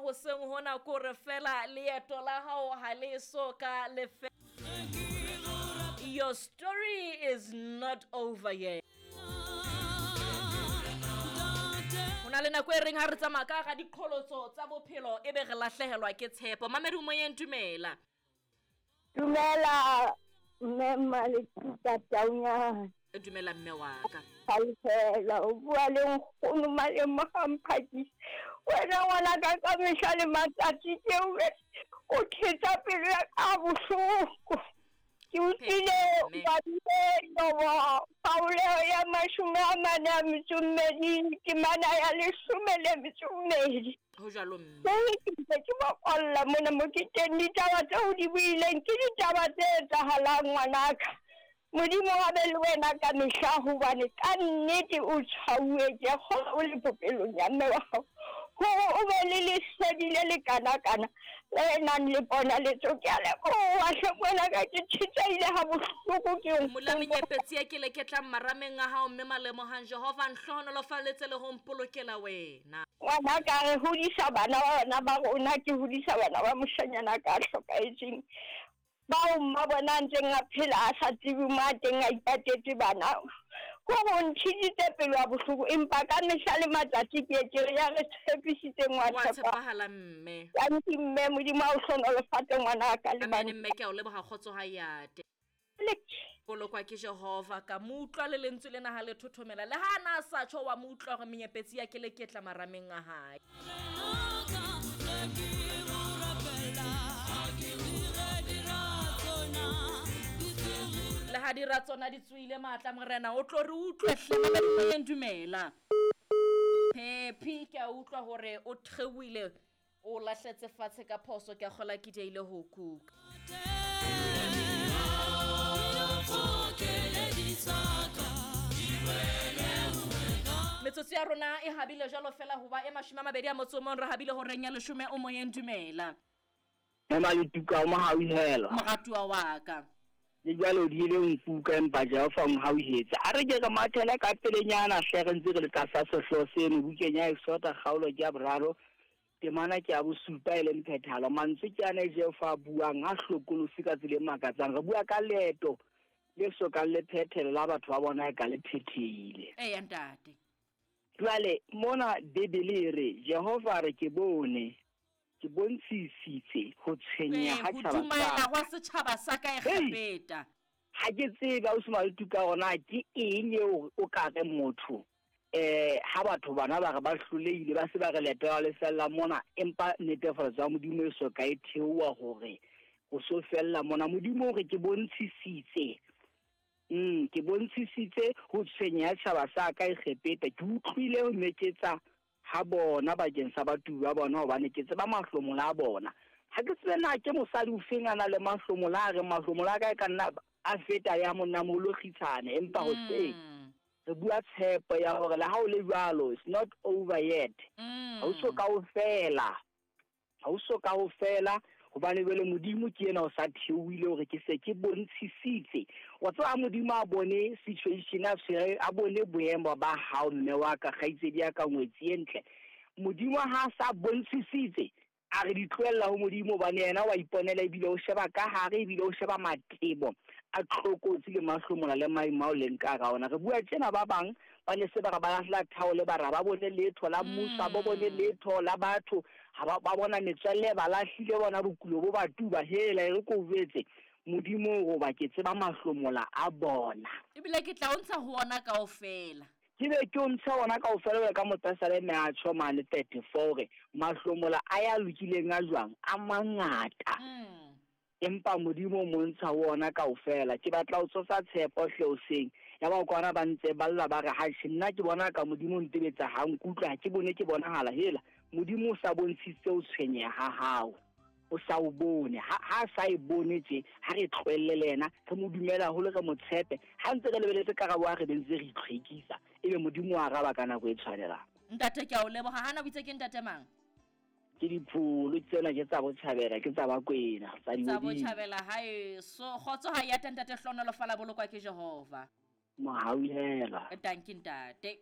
hoseng hona ke hore fela leeto la hao ha le so ka le fe. Your story is not over yet. Ho na le nako e reng ha re tsamaya ka ga diqholotso tsa bophelo e be re lahlehelwa ke tshepo. Mamedi moyeng dumela. Dumela mme Maletuka Taunyana. Dumela mme wa ka. Halefela o bua le nkgono Malemo ga mphakisi. Wena ngwana ka ka mehla le matsatsi ke o thetsa pelo ya ka bohloko. Ke utlwile badile Jobo kgaoleho ya 42 temana ya 12. Ho jwalo mme. Ke ntse ke bokolla mona mo ke teng, ditaba tseo di buileng ke ditaba tse etsahalang ngwanaka. Modimo wa be le wena ka mehla, hobane ka nnete o tshwauwe ke kgola o le popelong ya mme wa hao, hore o be le lesedi le le kana-kana le nang le pona letso. Ke a leboha hle ngwanaka, ke tshetsehile ha bohloko ke Mola menyepetsi ya ke leketlang marameng a hao mme Malemohang, Jehova nhlohonolofalletse le ho mpolokela wena. Ngwanaka, re hodisa bana ba bana ba rona, ke hodisa bana ba moshanyana ka hlokahetseng, bao mma bona a ntseng a phela a sa tsebe mo a teng a ipatetse bana. Kore o ntshiditse pelo ya bohloko, empa ka mehla le matsatsi ke ye ke re ya re tshepisitseng wa Wa tshepa. tshepahala mme. Tanki mme, Modimo a o hlohonolofatse ngwanaka le Amen bana. mme, ke a o leboha kgotso ha yate. Bolokwa ke Jehova, ka mo utlwa le lentswe lena ha le thothomela. Le ha na sa tjho wa mo utlwa hore menyepetsi ya ke leketla marameng a hae. Le ha dira tsona di tsoile matla morena o tlo re utlwe hle moyeng dumela. Phephi ke a utlwa hore o theohile o lahletse fatshe ka phoso, ke a kgola ke diehile ho kuka. Metsotso ya rona e habile jwalo fela hoba e 21 re habile horeng ya 10 o moyeng dumela. Mme Maletuka o mohauhelo. Moratuwa wa ka. Le jwale o diile nkuka empa Jehova o mohauhetse. A re ke re mathele ka pelenyana hle re ntse re le tlasa sehlooho seno bukeng ya Exoda kgaolo ke ya 3 temana ke ya 7 e leng phethahalo. Mantswe ke ana Jehova a buang a hlokolosi ka tsela e makatsang. Re bua ka leeto le sokang le phethelo la batho ba bona e ka le phethehile. Eya ntate. Jwale mona Bibele e re Jehova re ke bone, ke bontshisitse ho tshwenyeha ha Ho tjhaba sa dumaela ka. hwa setjhaba sa ka Egepeta. Ha ke tsebe ausi Maletuka hore na ke eng eo o ka reng motho ha batho bana ba re ba hlolehile ba se ba re leeto la le fella mona, empa netefatso ya Modimo e soka e theoha hore ho so fella mona. Modimo o re ke bontshisitse, ke bontshisitse ho tshwenyeha tjhaba sa ka Egepeta. Ke utlwile ho meketsa ha bona bakeng sa batubi ba bona, hobane ke tseba mahlomola a bona. Ha ke tsebe na ke mosadi o feng a nang le mahlomola, a reng mahlomola a ka e ka nna a feta ya monnamoholo kgitshane, empa hoseng re bua tshepo ya hore le ha o le jwalo, it's not over yet. Ha o so ka o fela, ha o so ka o fela, hobane jwale Modimo ke yena o sa theohile hore ke se ke bontshisitse. Wa tseba ha Modimo a bone situation a tshwere, a bone boemo ba hao mme wa ka, kgaitsedi ya ka ngwetsi e ntle. Modimo ha sa bontshisitse, a re di tlohella ho Modimo, hobane yena wa iponela ebile o sheba ka hare, ebile o sheba matebo a tlokotsi le mahlomola le maemo ao leng ka hara ona. Re bua tjena ba bang ba ne se ba re ba lahlela thaole, ba re ba bone letho la mmuso, ha ba bone letho la batho, ha ba bona metswalle ba lahlile bona bokulo bo ba tuba. Hela e re ko jwetse Modimo hoba ke tseba mahlomola a bona, Ebile ke tla o ntsha ho ona kaofela. Ke be ke o ntsha ona kaofela jwalo ka mopesaleme a tjho mane 34 hore mahlomola a ya lokileng a jwang a mangata. Empa Modimo o mo ntsha ho ona kaofela. Ke batla ho tsosa tshepo hle hoseng. Ya ba kwana ba ntse ba lla ba re ha nna ke bona ka Modimo o ntebetsa ha nkutlwa, ha ke bone ke bonahala. Hela Modimo o sa bontshitse o tshwenyeha ha hao, o sa o bone. Ha sa e bone tje, ha re tlohelle le yena, re mo dumela haholo, re mo tshepe. Ha ntse re lebeletse karabo, ha re be ntse re itlhwekisa, ebe Modimo o araba ka nako e tshwanelang. Ntate ke a o leboha. Hana o itse ke ntate mang? Ke dipholo tsena ke tsa botjhabela, ke tsa Bakwena, tsa Tsa Dihodimo. botjhabela haeso. Kgotso ha ya ntate, hlohonolofala, bolokwa ke Jehova. Mohauhela. Tanki ntate.